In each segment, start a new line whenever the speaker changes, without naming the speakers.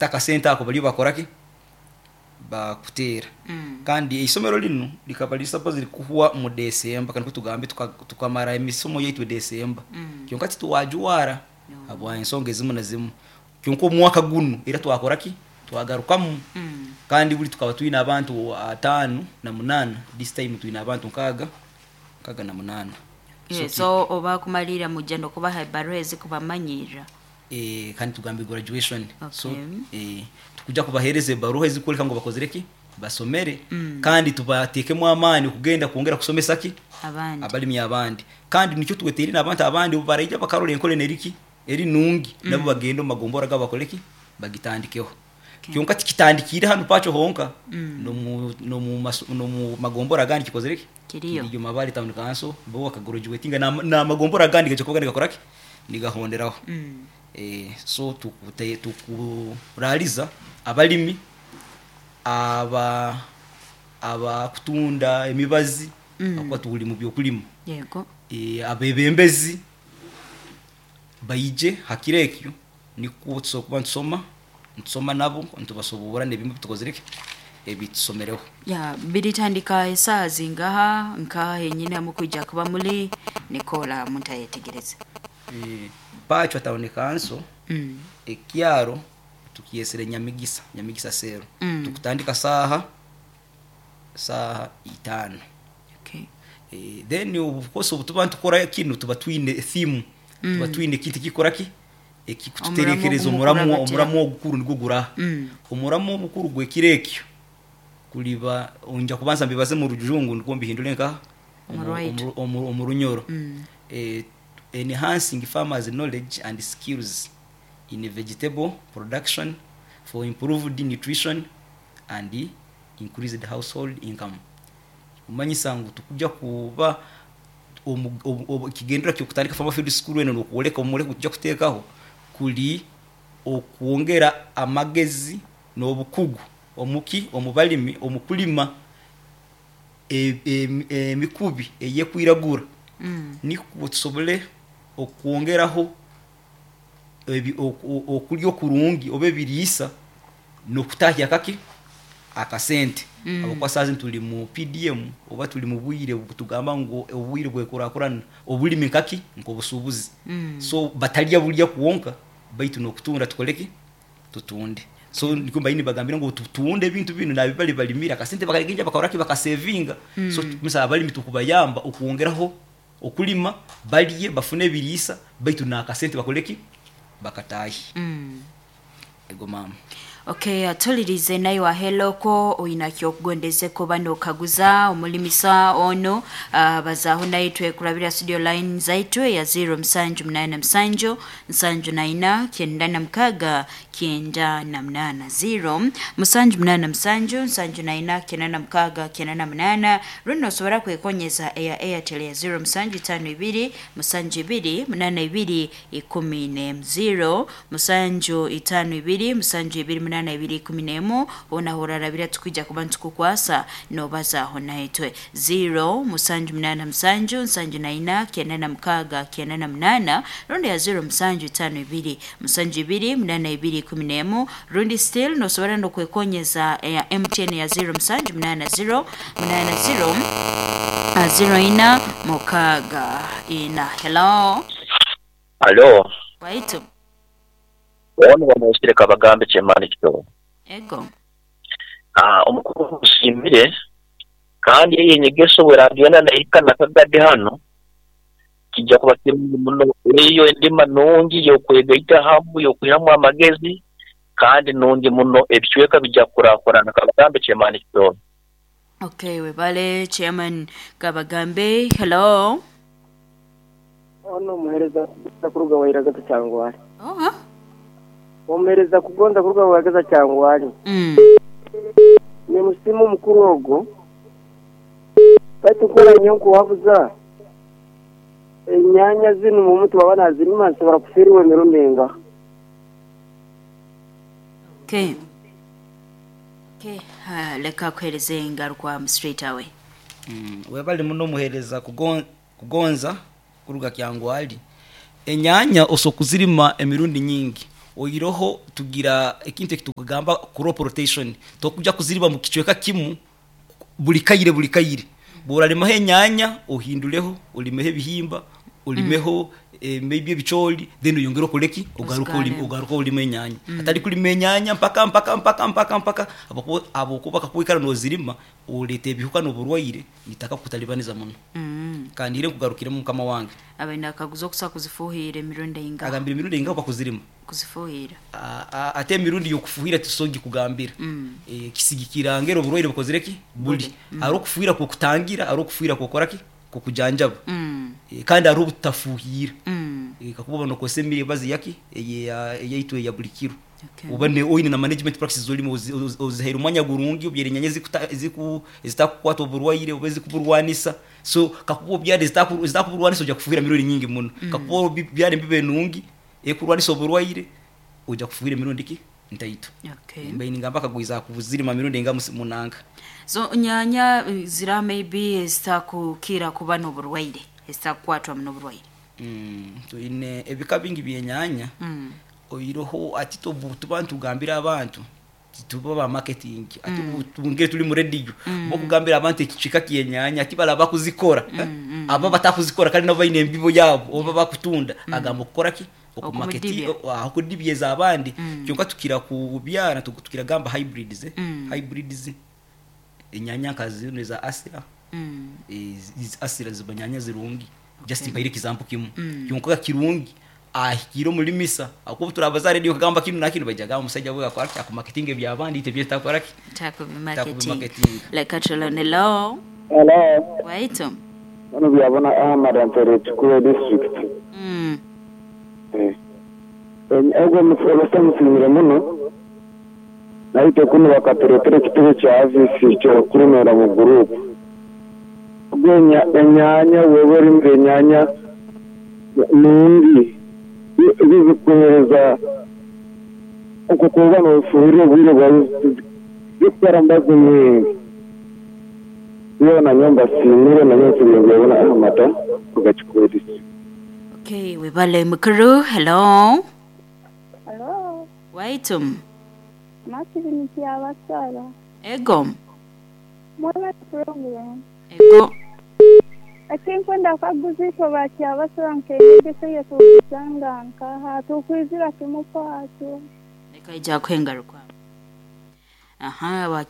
Akasente ako baliyo bakora ki? Bakuteera. Kandi eisomero linu likaba liri supposed kuhwa mu December, kandi tugambe tukamara emisomo yaitu December. Kyonka tituwajwara habwa ensonga ezimu na zimu. Kyonka omwaka gunu era twakora ki? Twagarukamu. Kandi buli tukaba twine abantu 58, this time twine abantu 68.
So oba kumalira mujja nokubaha ebaruha ezikubamanyirra.
Kandi tugambe graduation. So
Okay.
Tukuja kubahereza ebaruha ezikwoleka ngu bakozire ki? Basomere. Kandi tubatekemu amaani kugenda kwongera kusomesa ki?
Abandi.
Abalimi abandi. Kandi nikyo tweteire n'abantu abandi obu baraija bakarora enkora enu eriki? Eri nungi, nabo bagende omu magombora gabo bakole ki? Bagitandikeho. Kyonka tikitandikiire hanu Pakyo honka, n'omu magombora agandi kikozire ki?
Kiriyo.
Kiriyo. Mabale Town Council bo bakagraduatinga, n'amagombora agandi gaija kuba nigakora ki? Nigahonderaho. So tukuraliza abalimi abakutunda emibazi, akuba tuli mu byokulima.
Yego.
Abebembezi baije hakiro ekyo, nikwo tusobora kuba ntusoma nabo, nitubasoborra n'ebimu tukozire ki? Ebitusomereho.
Ya, biritandika esaaha zingaha, nkaha henyini hamukwija kuba muli nikola omuntu ayetegereze?
Pakyo Town Council, ekyaro tukyesere Nyamigisa, Nyamigisa Cell. Tukutandika saaha 5.
Okay.
Then of course obu tuba nitukora kinu tuba twine theme, tuba twine ekintu ekikora ki? Ekikututerekereza
Omuramu
omuramu,
ogumukurabatira.
Omuramu ogukuru nigwo guraha. Omuramu omukuru gw'ekiro ekyo kuliba nja kubanza mbibaze mu Rujungu nukwo mbihindure nkaha?
Omu Rwaitu.
Omu Runyoro. Enhancing farmers knowledge and skills in vegetable production for improved nutrition and increased household income. Kumanyisa ngu tukuja kuba ekigendererwa ky'okutandika Farmer Field School enu n'okwoleka omuleko tuja kuteekaho kuli okwongera amagezi n'obukugu omuki omu balimi omu kulima emikubi ey'ekwiragura, nikwo tusobole okwongeraho okulya okurungi oba ebiriisa n'okutahya akaki? Akasente. Habwokuba saaha zinu tuli mu PDM oba tuli mu bwire tugamba ngu obwire bw'ekurakurana, obulimi nkaki? Nk'obusuubuzi. So batalya bulya kwonka baitu n'okutunda tukole ki? Tutunde. So nikwo mbaire nibagambira ngu tutunde ebintu binu nabi bali balimire akasente bakagenda bakora ki? Bakasevinga. So musa abalimi tukubayamba okwongeraho okulima, balye bafune ebiriisa baitu n'akasente bakole ki? Bakatahi. Ego mama.
Okay, atulirize naye waheloko oyina kyokugondeze kuba nokaguza omulimisa ono, bazaaho naye twekurabira studio line zaitu ya 0 musanju munana musanju nsanju naina kyenda na mukaga kyenda na munana, 0 musanju munana musanju nsanju naina kyenda na mukaga kyenda na munana. Runo osobora kwekonyeza eya Airtel ya 0 musanju itano ibiri musanju ibiri munana ibiri ikumi n'emu, 0 musanju itano ibiri musanju ibiri munana ibiri ikumi n'emu. Hoona horarabira tukwija kuba nitukukwasa nobazaho naitwe 0 musanju munana musanju nsanju naina kyenda na mukaga kyenda na munana, rundi ya 0 musanju itano ibiri musanju ibiri munana ibiri ikumi n'emu. Rundi still nosobora nokwekonyeza eya MTN ya 0 musanju munana 0 munana 0 0 ina mukaga ina. Hello.
Alo.
Waitu.
Ono bamwesire Kabagambe Kyemani Kitobo.
Ego.
Omukuru musimire, kandi eyo enyegeso bweragenda nahika nakagade hano kijja kuba kirungi muno. Eyo endima nungi y'okwegaita hamu, y'okwihamu amagezi, kandi nungi muno, ebicweka bijja kukurakurana. Kabagambe Kyemani Kitobo.
Okay, webale Chairman Kabagambe. Hello.
Ono omuhereza kuruga Wairagata Kyangwali.
Oh.
Omuhereza kugonza kuruga Wairagata Kyangwali. Ni musimu mukuru ogwo. Baitu nkora nyonko wabuza. Enyanya zinu mu mutu baba nazirima nsobora kufiirwa emirundi enga.
Okay. Okay, leka kuhereza engaruka mu straight away.
Webale muno omuhereza kugonza kuruga Kyangwali. Enyanya oso kuzirima emirundi nyingi. Oiroho tugira ekintu ekitukugamba crop rotation, tokuja kuziriba mu kicweka kimu buli kaire buli kaire. Bworalimaho enyanya ohinduleho, olimeho ebihimba, olimeho maybe ebicooli, then oyongere okoleki, ogaruke olime,
Ozigaremu.
Ogaruke olime enyanya. Atari kulima enyanya mpaka mpaka mpaka mpaka mpaka habwokuba kakuikara nozirima oleeta ebihuka n'oburwaire nitaka kukutalibaniza muno. Kandi ire nkugarukiremu mukama wange.
Abaine akaguza okusa kuzifuhira emirundi eingaha?
Agambire emirundi eingaha bakuzirima?
Kuzifuhira.
Ate emirundi y'okufuhira tisogi kugambira. Kisigikira ngeri oburwaire bukozire ki buli. Hariho okufuhira kw'okutangira, hariho okufuhira kw'okoraki, kw'okujanjaba. Kandi hariho obutafuhira. Kakuba oba nokozesa emibazi yaki eyaitu eya buli kiro.
Okay.
Oba oine na management practices zolimu, ozihaire omwanya gurungi, obyere enyanya ezitakukwata oburwaire oba ezikuburwanisa. So kakuba obyara ezitakuburwanisa ojja kufuhira emirundi nyingi muno. Kakuba obyara embibo enungi ekurwanisa oburwaire ojja kufuhira emirundi ki ntaito.
Okay.
Mbaire ningamba akagwiza kuzirima mirundi enga munanga.
So nyanya zira maybe ezitakukira kuba n'oburwaire, ezitakukwatwa n'oburwaire.
Twine ebika bingi by'enyanya. Oiroho ati tuba ntugambira abantu tuba ba marketing, ati tungere tuli mu radio bokugambira abantu ekicika ky'enyanya ati balaba kuzikora, aba batakuzikora kandi nabo baine embibo yabo oba bakutunda, agamba okukora ki okumaketi
Okumudibya.
Okudibyeza abandi. Kyonka tukira kubyara tukira gamba hybrids, hybrids enyanya nka zino eza asira. Asira ziba nyanya zirungi. Just mpaire example kimu. Kyonka kirungi ahikire omulimisa akuba turabaza radio kagamba kinu na kinu bajaga omusajja we akora ki akumarketing ebyabandi ite byetakora ki
Takubimarketing.
Takubimarketing.
Like atulonelo.
Hello.
Waitu.
Bano byabona Ahmad Antere Kikuube district. Ogwo abasa musimire muno. Naite kuno bakatureetera ekitebe kya avisi kyokulimira mu group. Ogwo enyanya wewe olimire enyanya nungi zikuhereza okukuba nofuhirira obwire bwawe zikutwara mbazi mwingi. Iyo nanyo mbasimire nanyo nsimire byabona Ahmad kuga Kikuube district.
Okay, webale mukuru. Hello.
Hello,
Waitu.
Martin Kyabasara.
Ego.
Mweba program.
Ego.
Ekinkwenda kaguziiko ba Kyabasara nk'enyegesa yetukusanga nkaha tukwizira kimukwatyo.
Nekaija kwengaruka. Aha,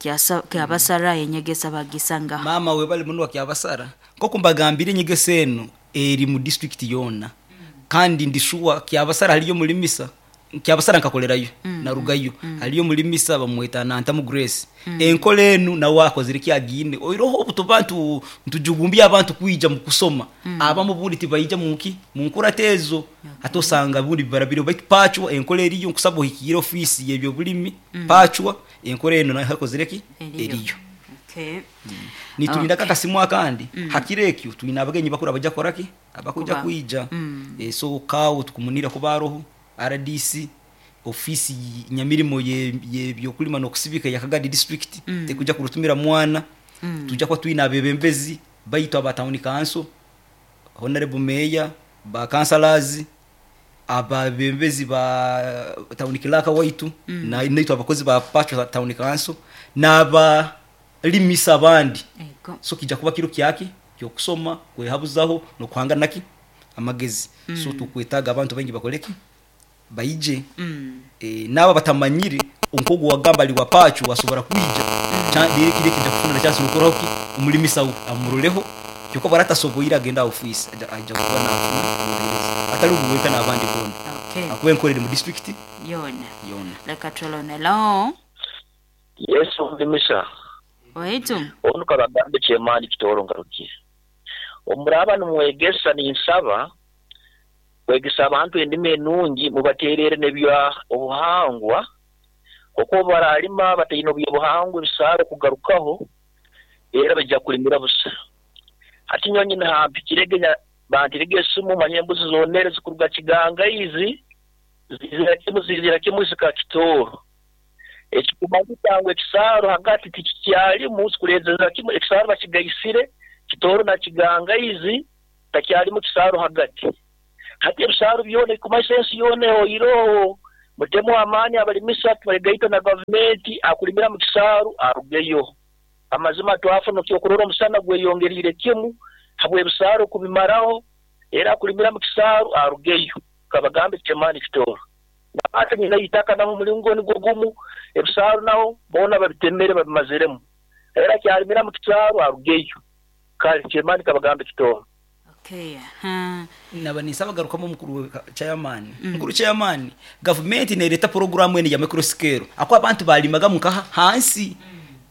Kyabasara enyegesa bagisanga.
Mama webale muno wa Kyabasara. Nk'oku mbagambire enyegesa eno eri mu district yona. Kandi ndishuwa Kyabasara haliyo mulimisa. Kyabasara nkakolerayo, narugayo. Haliyo mulimisa bamweta Nantamu Grace. Enkola enu nawe akozire kyagine. Oiroho obutu ntujugumbya abantu kwija mu kusoma. Abamu bundi tibaija muki mu nkuratezo. Ate osanga bundi barabire baitu pachwa enkola eriyo nkusaba ohikire ofisi y'ebyo bulimi. Pachwa enkola eno nayo akozire ki?
Eriyo.
Eriyo.
Okay.
Nitulinda
Okay.
kakasimu akandi. Hakire ekyo tulina abagenyi bakuru abaja koraki abakuja
Kuba.
kwija. So kawo tukumunira kubaroho RDC ofisi nyamirimo ye byokulima n'okusibika ya Kagadi district. Tekuja kurutumira mwana. Tuja kwa twina abebembezi baitu aba town council, honorable mayor, ba councillors, ababembezi ba town clerk waitu, na naitu abakozi ba Pacho town council n'aba limisa abandi.
Ego.
So kijja kuba kiro kyaki kyokusoma kwehabuzaho nokuhanga naki amagezi. So tukwetaga abantu baingi bakoleki baije. Naba batamanyire onkogo wagamba ali wapachu wasobora kwija. Dire kire kijja kufuna chance nokoraho ki omulimisa amuroleho kyokka baratasoboira agenda office aja kuba nafuna obuheereza atali kuweka n'abandi bona.
Okay.
Akuba enkorere mu district
Yona.
yona.
Leka twelonelo.
Yes, omulimisa.
Waitu.
Onu kabagambe kyemani kitoro ngarukiye. Omuraba nimwegesa ninsaba kwegesa abantu endimi enungi mubaterere nebya obuhangwa kuko baralima bataine obuhangwa ebisaro kugarukaho era bajja kulimira busa. Hati nyonyi nahampikirege bantirege esimu manye embuzi zonere zikuruga Kiganga izi zizira kimu zika Kitoro. Ekikumanyisa ngu ekisaro hagati tikikyalimu zikurezera kimu ekisaro bakigaisire Kitoro na Kiganga izi takyalimu kisaro hagati. Hati ebisaro byona ekumanyisa ensi yona oiroho Mutemu amaani abalimisa tubalegaita na gavumenti akulimira mu kisaaru arugeyo. Amazima twafuna ekyokurora omusana gweyongeriire kimu habw'ebisaaru kubimaraho, era akulimira mu kisaaru arugeyo. Kabagambe Chairman Kitooro. Ate nyina itaka naho omulingo nigwo gumu, ebisaaru naho boona babitemere babimaziremu. Era akyalimira mu kisaaru arugeyo. Kale Chairman Kabagambe Kitooro.
Okay.
Naba ninsaba garukamu omukuru chairman. Mukuru chairman, gavumenti nereta programu enu ya micro scale. Ako abantu balimaga mukaha hansi.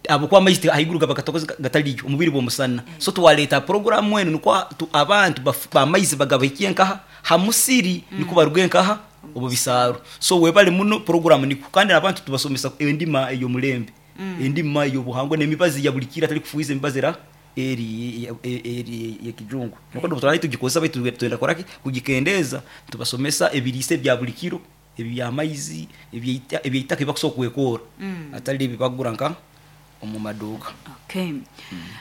Ahabwokuba amaizi ahaiguru gaba gatakoze gataliyo omubiri bw'omusana. So twaleeta programu enu nikwo abantu bamaizi bagabahikie nkaha hamusiri nikwo baruge nkaha omu bisaaru. So webale muno programu nikwo kandi abantu tubasomesa endima ey'omulembe, endima ey'obuhangwa n'emibazi ya buli kiro atali kufuhiza emibazi era eri ey'ekijungu. Nikwo twali tugikozesa baitu twenda kukoraki kugikendeeza tubasomesa ebiriisa ebya buli kiro, eby'amaizi, ebyeitaka ebibakusobola kwekoora atali ebi bakugura nka omu maduuka.
Okay.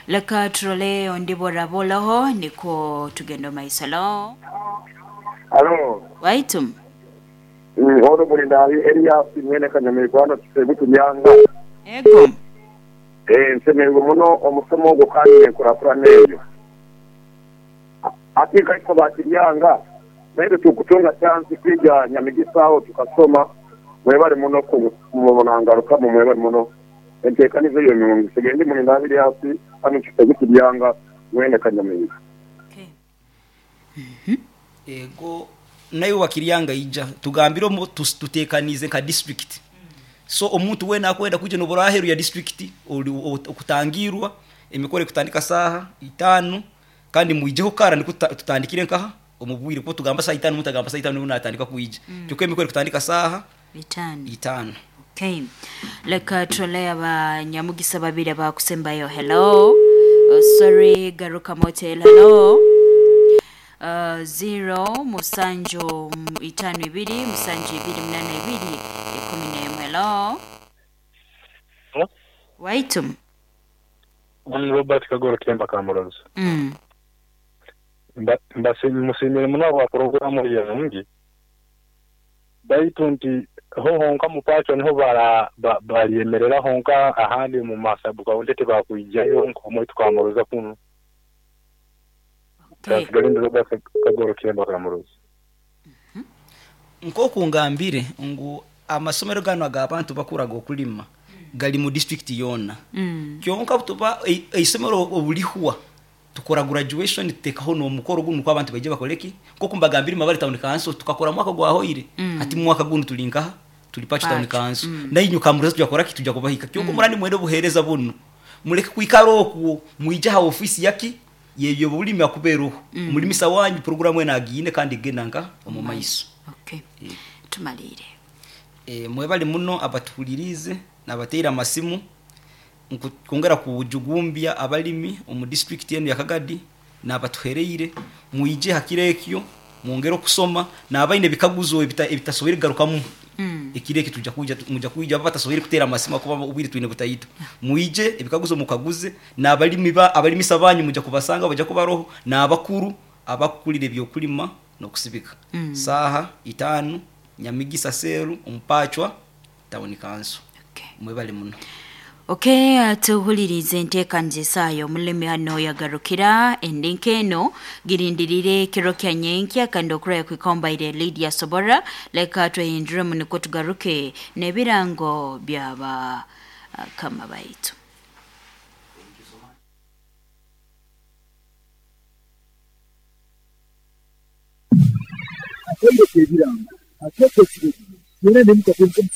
Leka turole ondi borabolaho nikwo tugenda omu maiso. Hello.
Halo.
Waitu.
Ono Mulindaabi Elias mwene Kanyamaigwa Kisebutu Nyanga.
Ego.
Nsemererwe muno omusomo ogwo kandi n'enkurakurana eyo. Ati nkaitwe bakiryanga naitwe tukutunga chansi kwija Nyamigisa aho tukasoma. Mwebale muno kumunangarukamu, mwebale muno enteekaniza eyo nungi. Sigendi Mulindaabi Elias hano Kisebutu Nyanga mwene Kanyamaigwa.
Okay.
Ego nayo wakiryanga ija tugambire tutekanize nka district. So omuntu wena akwenda kuija nobura aheru ya district okutangirwa emikoro kutandika saha 5 kandi mwijeho kara niko tutandikire nkaha omubwire kuko tugamba saa 5 mutagamba saa 5 natandika kuija. Kyokka emikoro kutandika saha 5.
Okay. Leka turole abanyamugisa babiri abakusembayo. Hello. Sorry, Garuka Motel. Hello. 0 musanju 5 2 musanju 2 8 2 11. Hello. Waitum.
Robert Kagoro Kemba Kamurozi. Musimire muno bwa programu yange. Baitu nti ho honka mupacho niho baryemerera honka ahandi mu masabu kaunti tebakwijayo nko tukamuroza kuno.
Okay.
Robert Kagoro Kemba Kamurozi.
Nkoku ngambire ngu amasomero gano ag'abantu bakuraga okulima gali mu district yona. Kyonka tuba isomero obulihwa tukora graduation tutekaho n'omukoro guno kwa abantu baije bakoleki nkoku mbagambire Mabare Town Council tukakora mwaka gwahoire ati mwaka guno tulinkaha tuli Pacho Town Council nainyu Kamuroza tujakora ki tuja kubahika kyonka murani mwende obuhereza buno muleke kwikara okwo mwije ha ofisi yaki yebyo bulimi akuberuho omulimisa wanyu programu enagine kandi genanga omu maiso.
Okay. Tumalire.
Mwebale muno abatuhulirize nabateera amasimu kwongera kujugumbya abalimi omu district yenu ya Kagadi nabatuhereire mwije hakirekyo mwongere okusoma nabaine bikaguzo ebitasoboire garukamu. Ekireki tuja kuja muja kuja batasoboire kutera amasimu kuba ubwire twine butayito. Mwije ebikaguzo mukaguze nabalimi abalimisa banyu muja kubasanga baja kubaroho nabakuru abakulire byokulima nokusibika. Saha 5 Nyamigisa Seru Ompachwa Town Council.
Okay.
Mwebale muno.
Okay, tuhulirize enteekaniza eyo omulimi hano yagarukira endinka eno girindirire kiro kya nyenkya kandi okuraya kwikombaire Lydia Sobora. Leka twehinduremu niko tugaruke n'ebirango byaba kama baitu.
Akwende ebirango akwete